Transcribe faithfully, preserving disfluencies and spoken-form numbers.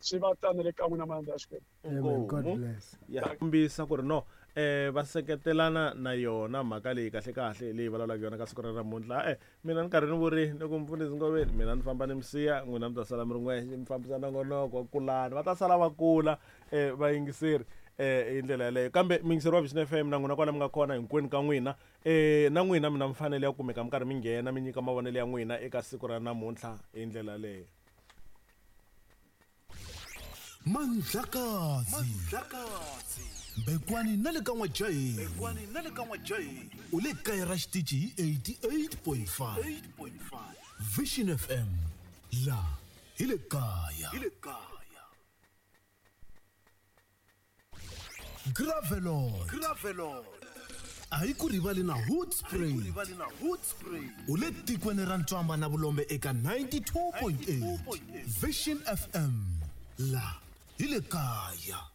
Swi va tano le ka n'wina malandza ya Xikwembu. Amen. God bless. Ya kombisa ku ri no eh va seketelana na yona mhaka leyi kahle kahle leyi vulavulaka yona ka siku ra namuntlha. Eh mina ni karhi ni vuri ni ku mfundhisi Ngoveni, mina ni famba ni misiya, n'wina mi ta sala mi ri n'wexe, mi fambisa nongonoko wa kulani, va ta sala va kula eh vayingiseri eh hi ndlela yaleyo. Kambe muyingiseri wa Vision F M na n'wina kwala mi nga kona hinkwenu ka n'wina, eh na n'wina mi na mfanelo ya ku kumeka mi karhi mi nghena mi nyika mavonelo ya n'wina eka siku ra namuntlha hi ndlela yaleyo. Mandlakazi. Mandlakazi. Bekwani na le ka N'wajaheni. Bekwani na le ka N'wajaheni. U le kaya ra xitichi hi eighty-eight point five. Vision F M. La hi le kaya. Hi le kaya. Gravelot. Gravelot. A hi ku rivali na Hoedspruit. A hi ku rivali na Hoedspruit. U le tikweni ra Ntswamba na Vulombe eka ninety-two point eight. Vision F M. La hi le kaya.